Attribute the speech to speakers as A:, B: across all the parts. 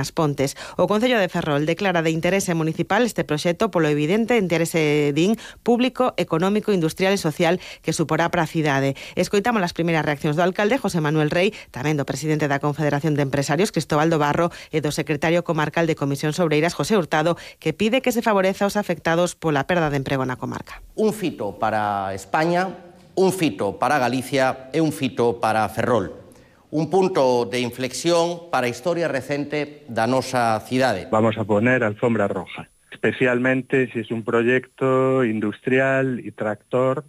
A: As Pontes. O Concello de Ferrol declara de interese municipal este proxecto polo evidente interese público, económico, industrial e social que suporá para a cidade. Escoitamos as primeiras reaccións do alcalde José Manuel Rey, tamén do presidente da Confederación de Empresarios Cristóbal do Barro e do secretario comarcal de Comisións Obreiras José Hurtado, que pide que se favoreza aos afectados pola perda de emprego na comarca.
B: Un fito para España, un fito para Galicia e un fito para Ferrol. Un punto de inflexión para a historia recente da nosa cidade.
C: Vamos a poner alfombra roja, especialmente si es un proyecto industrial y tractor,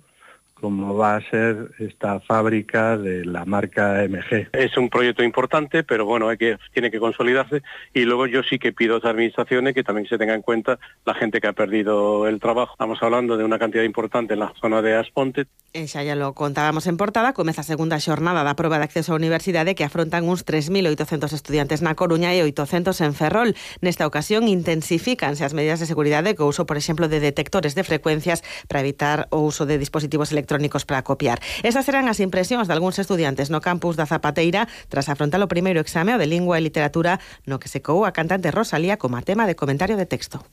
C: como va a ser esta fábrica de la marca MG.
D: Es un proyecto importante, pero bueno, tiene que consolidarse, y luego yo sí que pido a las administraciones que también se tenga en cuenta la gente que ha perdido el trabajo. Estamos hablando de una cantidad importante en la zona de As Pontes.
A: Xa lo contábamos en portada, comeza a segunda xornada da proba de acceso á universidade que afrontan uns 3.800 estudiantes na Coruña e 800 en Ferrol. Nesta ocasión intensifícanse as medidas de seguridade co uso, por exemplo, de detectores de frecuencias para evitar o uso de dispositivos electrónicos para copiar. Esas serán as impresións de algúns estudiantes no campus da Zapateira tras afrontar o primeiro exame de Lingua e Literatura no que se coou a cantante Rosalía como tema de comentario de texto.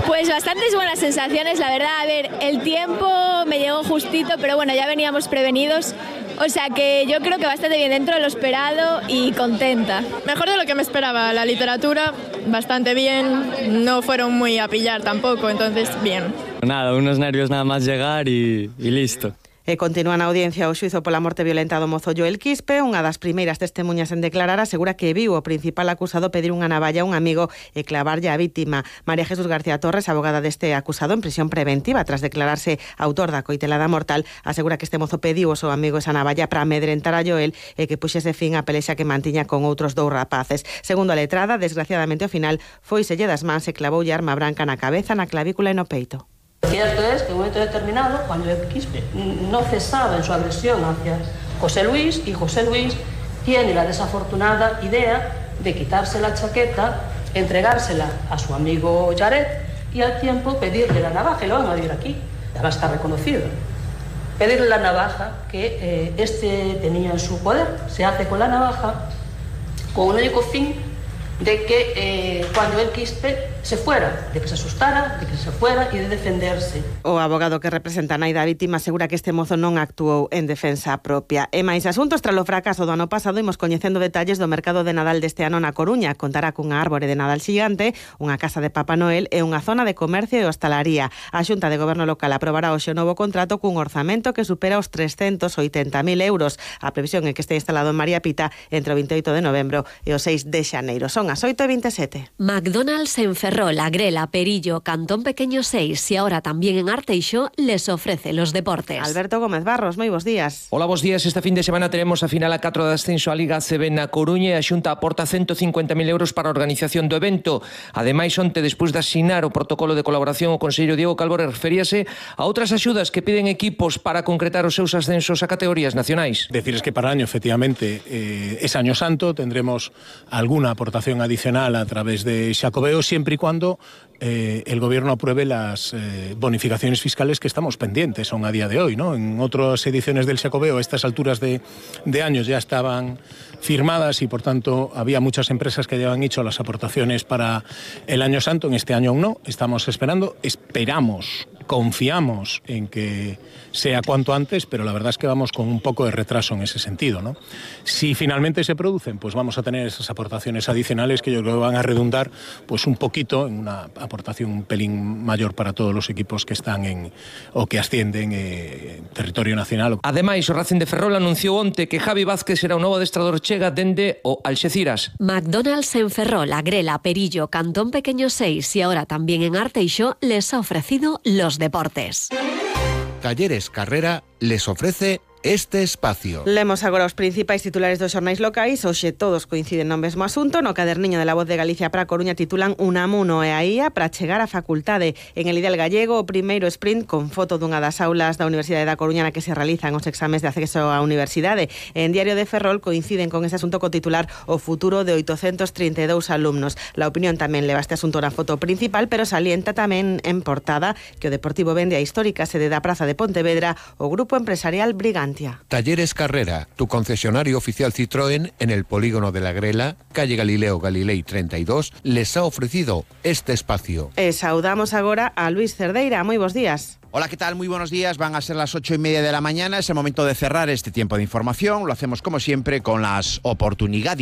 E: Pues bastantes buenas sensaciones, la verdad. A ver, el tiempo me llegó justito, pero bueno, ya veníamos prevenidos. O sea que yo creo que bastante bien dentro de lo esperado y contenta.
F: Mejor de lo que me esperaba. La literatura, bastante bien. No fueron muy a pillar tampoco, entonces bien.
G: Nada, unos nervios nada más llegar y listo.
A: E continúa na audiencia o xuízo pola morte violenta do mozo Joel Quispe. Unha das primeiras testemunhas en declarar asegura que viu o principal acusado pedir unha navalla a un amigo e clavarlle a vítima. María Jesús García Torres, abogada deste acusado en prisión preventiva tras declararse autor da coitelada mortal, asegura que este mozo pediu ao seu amigo esa navalla para amedrentar a Joel e que puxese fin á pelexa que mantiña con outros dous rapaces. Segundo a letrada, desgraciadamente ao final foiselle das mans e clavoulle arma branca na cabeza, na clavícula e no peito.
H: Cierto es que en un momento determinado, cuando el Quispe no cesaba en su agresión hacia José Luis, y José Luis tiene la desafortunada idea de quitarse la chaqueta, entregársela a su amigo Jared y al tiempo pedirle la navaja, y lo van a ver aquí, además está reconocido, pedirle la navaja que este tenía en su poder. Se hace con la navaja con un único fin de que cuando el Quispe se fuera, de que se asustara, de que se fuera e de defenderse.
A: O abogado que representa a nai da vítima asegura que este mozo non actuou en defensa propia. E máis asuntos, tras o fracaso do ano pasado, imos coñecendo detalles do mercado de Nadal deste ano na Coruña. Contará cunha árbore de Nadal xigante, unha casa de Papá Noel e unha zona de comercio e hostalaría. A Xunta de Goberno Local aprobará hoxe o novo contrato cun orzamento que supera os 380.000 euros. A previsión é que este instalado en María Pita entre o 28 de novembro e o 6 de xaneiro. Son as 8:27.
I: McDonald's en Ferrol, Agrela, Perillo, Cantón Pequeño 6 y ahora también en Arteixo les ofrece los deportes.
A: Alberto Gómez Barros, moi bos días.
J: Hola, bos días. Este fin de semana teremos a final a 4 de ascenso a Liga ACB na Coruña e a Xunta aporta 150.000 euros para a organización do evento. Ademais, onte, despois de asinar o protocolo de colaboración, o conselleiro Diego Calvore referíase a outras axudas que piden equipos para concretar os seus ascensos a categorías nacionais.
K: Decirles que para el año, efectivamente, es Año Santo, tendremos alguna aportación adicional a través de Xacobeo, siempre y cuando el gobierno apruebe las bonificaciones fiscales que estamos pendientes, son a día de hoy, ¿no? En otras ediciones del Xacobeo, a estas alturas de años ya estaban firmadas y por tanto había muchas empresas que ya habían hecho las aportaciones para el Año Santo. En este año aún no, estamos esperando, esperamos, confiamos en que sea cuanto antes, pero la verdad es que vamos con un poco de retraso en ese sentido, ¿no? Si finalmente se producen, pues vamos a tener esas aportaciones adicionales que yo creo que van a redundar pues un poquito en una aportación un pelín mayor para todos los equipos que están o que ascienden en territorio nacional.
J: Ademais, o Racing de Ferrol anunciou onte que Javi Vázquez será o novo adestrador chega dende o Alxeciras.
I: McDonald's en Ferrol, Agrela, Perillo, Cantón Pequeño 6 y ahora también en Arteixo les ha ofrecido los deportes.
L: Talleres Carrera les ofrece este espacio.
A: Lemos agora os principais titulares dos xornais locais. Hoxe todos coinciden no mesmo asunto. No caderniño de La Voz de Galicia para a Coruña titulan Unamuno e a IA para chegar á facultade. En el Ideal Gallego, o primeiro sprint con foto dunha das aulas da Universidade da Coruña na que se realizan os exames de acceso á universidade. En Diario de Ferrol coinciden con ese asunto co titular O futuro de 832 alumnos. La Opinión tamén leva este asunto na foto principal, pero salienta tamén en portada que o Deportivo vende a histórica sede da Praza de Pontevedra o grupo empresarial Brigante. Navantia.
L: Talleres Carrera, tu concesionario oficial Citroën en el polígono de la Grela, calle Galileo Galilei 32, les ha ofrecido este espacio.
A: Saudamos agora a Luis Cerdeira. Moi bons días.
M: Hola, ¿qué tal? Muy buenos días. Van a ser las 8:30 de la mañana. Es el momento de cerrar este tiempo de información. Lo hacemos como siempre con las oportunidades